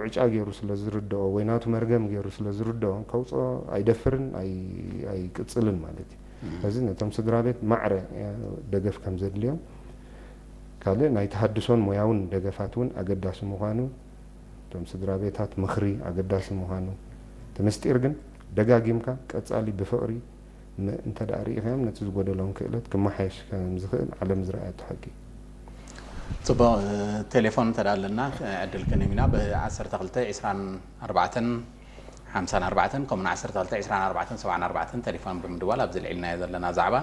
ዕጫ ገይሩ ስለ ዝርድኦ ወይ ናቱ መርገም ገይሩ ስለ ዝርድኦ ከውፅኦ ኣይደፍርን፣ ኣይ-፣ ኣይቅፅልን ማለት እዩ። ስለዚ ነቶም ስድራ ቤት ማዕረ ደገፍ ከም ዘድልዮም፣ ካልእ ናይ ተሃድሶን ሞያውን ደገፋት እውን ኣገዳሲ ምዃኑ፣ እቶም ስድራ ቤታት ምኽሪ ኣገዳሲ ምዃኑ፣ እቲ ምስጢር ግን ደጋጊምካ ቀጻሊ ብፍቕሪ ም-፣ እንተ ደኣ ርኢኻዮም ነቲ ዝጎደሎም ክእለት ክመሓየሽ ከም ዝኽእል ዓለም ዝረኣየቶ ሓቂ እዩ። ጽቡቕ። ቴሌፎን እንተ ደኣ ኣለና ዕድል ክንህብ ኢና። ብ12 24 54 ከምኡን 12 24 74 ቴሌፎን ብምድዋል ኣብዚ ልዒልናዮ ዘለና ዛዕባ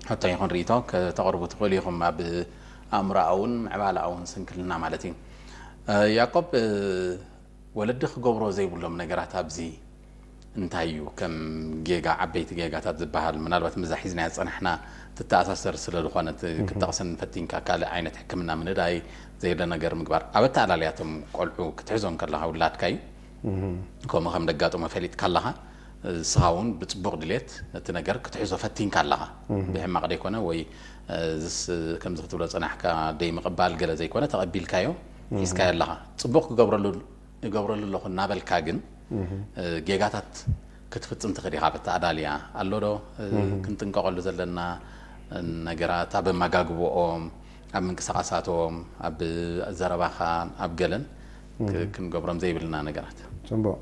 ሕቶ ይኹን ርእይቶ ከተቕርቡ ትኽእሉ ኢኹም፣ ኣብ ኣእምሮኣውን ምዕባለኣውን ስንክልና ማለት እዩ። ያዕቆብ፣ ወለዲ ክገብሮ ዘይብሎም ነገራት ኣብዚ እንታይ እዩ? ከም ጌጋ፣ ዓበይቲ ጌጋታት ዝበሃል ምናልባት ምዛ ሒዝናያ ዝጸናሕና ትተኣሳሰር ስለ ዝኾነት ክትጠቕሰን ፈቲንካ፣ ካልእ ዓይነት ሕክምና ምንዳይ፣ ዘይለ ነገር ምግባር፣ ኣብ ኣተኣላልያቶም ቆልዑ ክትሕዞም ከለኻ ውላድካ እዩ ከምኡ ከም ደጋጥሞ ፈሊጥካ ኣለኻ። ንስኻ እውን ብጽቡቕ ድሌት ነቲ ነገር ክትሕዞ ፈቲንካ ኣለኻ። ብሕማቕ ደይኮነ ወይ ዝስ ከምዚ ክትብሎ ጽናሕካ ደይ ምቕባል ገለ ዘይኮነ ተቐቢልካዮ ሒዝካዮ ኣለኻ። ጽቡቕ ክገብረሉ እገብረሉ ኣለኹ እናበልካ ግን ጌጋታት ክትፍጽም ትኽእል ኢኻ። በቲ ኣዳልያ ኣሎ ዶ ክንጥንቀቐሉ ዘለና ነገራት ኣብ ኣመጋግብኦም፣ ኣብ ምንቅስቓሳቶም፣ ኣብ ዘረባኻን ኣብ ገለን ክንገብሮም ዘይብልና ነገራት። ጽቡቕ።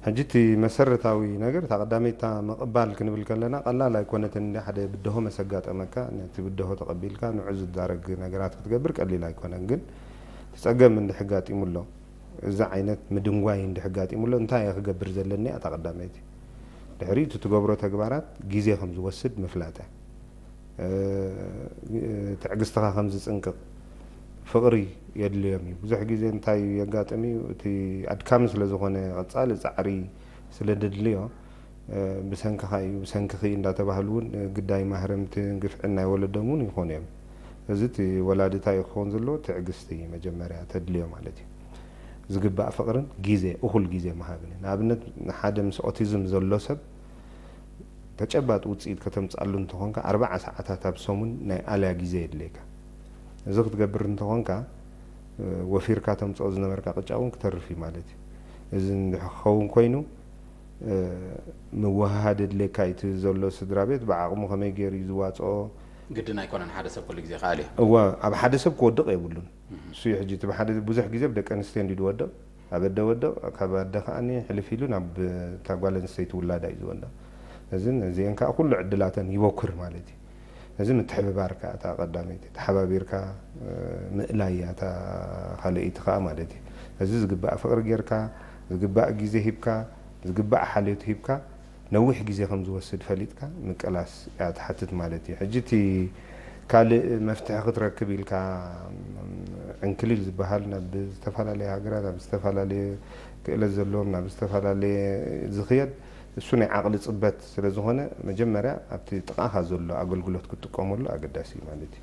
ሕጂ እቲ መሰረታዊ ነገር እታ ቀዳመይታ ምቕባል ክንብል ከለና ቀላል ኣይኮነትን። እንዲ ሓደ ብድሆ መሰጋጠመካ ነቲ ብድሆ ተቐቢልካ ንዑ ዝዳረግ ነገራት ክትገብር ቀሊል ኣይኮነን። ግን እቲ ጸገም እንድሕጋጢሙ ኣሎ እዚ ዓይነት ምድንጓይ እንድሕጋጢሙ ኣሎ እንታይ እየ ክገብር ዘለኒ እያ እታ ቀዳመይቲ። ድሕሪ እቲ ትገብሮ ተግባራት ግዜ ከም ዝወስድ ምፍላጥ እያ። ትዕግስትኻ ከም ዝጽንቅቕ ፍቕሪ የድልዮም እዩ። ብዙሕ ግዜ እንታይ የጋጥም እዩ፣ እቲ ኣድካሚ ስለ ዝኾነ ቀጻሊ ጻዕሪ ስለ ደድልዮ ብሰንክኻ እዩ ብሰንክኺ እንዳተባህሉ እውን ግዳይ ማህረምትን ግፍዕን ናይ ወለዶም እውን ይኾኑ እዮም። እዚ እቲ ወላዲ እንታይ እዩ ክኸውን ዘለዎ? ትዕግስቲ መጀመርያ ተድልዮ ማለት እዩ። ዝግባእ ፍቕርን ግዜ እኹል ግዜ ምሃብን እዩ። ንኣብነት ንሓደ ምስ ኦቲዝም ዘሎ ሰብ ተጨባጢ ውፅኢት ከተምፅኣሉ እንተኾንካ ኣርባዓ ሰዓታት ኣብ ሰሙን ናይ ኣልያ ግዜ የድልየካ። እዚ ክትገብር እንተኾንካ ወፊርካ ተምፅኦ ዝነበርካ ቅጫ እውን ክተርፍ እዩ ማለት እዩ። እዚ እንድሕር ክኸውን ኮይኑ ምውህሃድ የድልየካ እዩ። እቲ ዘሎ ስድራ ቤት ብዓቕሙ ከመይ ገይሩ እዩ ዝዋፅኦ? ግድን ኣይኮነን፣ ሓደ ሰብ ኩሉ ግዜ ይኽእል እዩ። እወ፣ ኣብ ሓደ ሰብ ክወድቕ የብሉን። እሱ እዩ ሕጂ እቲ ብሓደ ብዙሕ ግዜ ብደቂ ኣንስትዮ እንዲ ዝወድቕ፣ ኣብ ኣደ ወድቕ፣ ካብ ኣደ ከዓኒ ሕልፍ ኢሉ ናብ እታ ጓል ኣንስተይቲ ውላዳ እዩ ዝወድቕ። እዚ ነዚአን ከዓ ኩሉ ዕድላተን ይበኩር ማለት እዩ። እዚ ምትሕብባር ከዓ እታ ቀዳመይቲ ተሓባቢርካ ምእላይ እያ እታ ካልኣይቲ ከዓ ማለት እዩ። እዚ ዝግባእ ፍቕሪ ጌርካ፣ ዝግባእ ግዜ ሂብካ፣ ዝግባእ ሓልዮት ሂብካ ነዊሕ ግዜ ከም ዝወስድ ፈሊጥካ ምቅላስ እያ ትሓትት ማለት እዩ። ሕጂ እቲ ካልእ መፍትሒ ክትረክብ ኢልካ ዕንክሊል ዝበሃል ናብ ዝተፈላለየ ሃገራት ናብ ዝተፈላለየ ክእለት ዘለዎም ናብ ዝተፈላለየ ዝኽየድ እሱ ናይ ዓቕሊ ጽበት ስለ ዝኾነ መጀመርያ ኣብቲ ጥቓኻ ዘሎ ኣገልግሎት ክትጥቀመሉ ኣገዳሲ እዩ ማለት እዩ።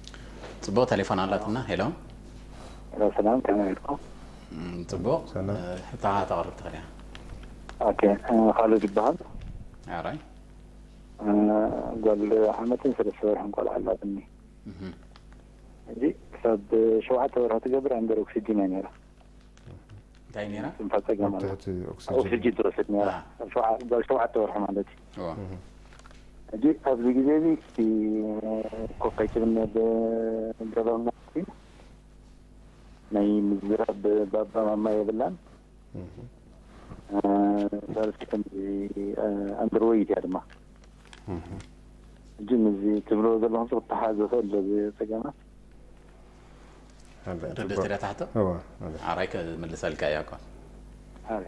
ጽቡቕ ቴሌፎን ኣላትና። ሄሎ ሰላም ከመይ ኢልኩም? ጽቡቕ ሕታኻ ተቕርብ ትኽእል እያ። ኦኬ ካልድ ይበሃል። ኣራይ ጓል ዓመትን ሰለስተ ወርሕን ቆልዓ ኣላትኒ። ሕጂ ክሳብ ሸውዓተ ወርሒ ትገብር ኣንደር ኦክሲጅን እያ ነይራ። እንታይ ነይራ? ትንፋስ ጸገም ኣላ። ኦክሲጅን ትወስድ ነይራ። ጓል ሸውዓተ ወርሒ ማለት እዩ። ሕጂ ኣብዚ ግዜ እዚ እቲ ኮፍ ኣይትብልኒ ገበርና ናይ ምዝራብ ባባ ማማ የብላን። ሳልስቲ ከምዚ ኣንደርወይት እያ ድማ። ሕጂ ምዚ ትብሎ ዘለኹም ክትተሓዝ ዝኽእል ዶ ጸገማት? ርድእት እያ ትሕቶ? እዋ፣ ኣረ። ኣራይ ክምልሰልካ እያ እኮ። ኣረ።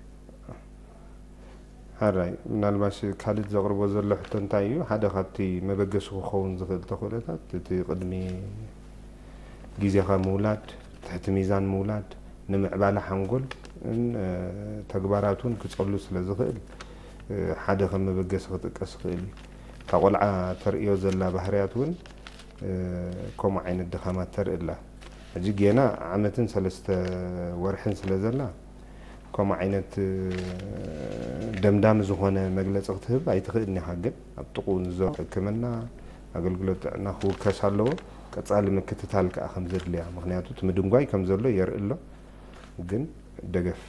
ሓራይ ምናልባሽ ካልድ ዘቕርቦ ዘሎ ሕቶ እንታይ እዩ? ሓደ ካብቲ መበገሲ ክኸውን ዝኽእል ተኽእሎታት እቲ ቅድሚ ግዜኻ ምውላድ፣ ትሕቲ ሚዛን ምውላድ፣ ንምዕባለ ሓንጎል ን ተግባራት እውን ክጸሉ ስለ ዝኽእል ሓደ ከም መበገሲ ክጥቀስ ይኽእል እዩ። እታ ቆልዓ ተርእዮ ዘላ ባህርያት እውን ከምኡ ዓይነት ድኻማት ተርኢ ኣላ። ሕጂ ጌና ዓመትን ሰለስተ ወርሕን ስለ ዘላ ከምኡ ዓይነት ደምዳሚ ዝኾነ መግለፂ ክትህብ ኣይትኽእልን ኢኻ። ግን ኣብ ጥቕኡ ንዞ ሕክምና ኣገልግሎት ጥዕና ክውከስ ኣለዎ። ቀፃሊ ምክትታል ከዓ ከም ዘድልያ፣ ምክንያቱ እቲ ምድንጓይ ከም ዘሎ የርኢ ኣሎ። ግን ደገፍ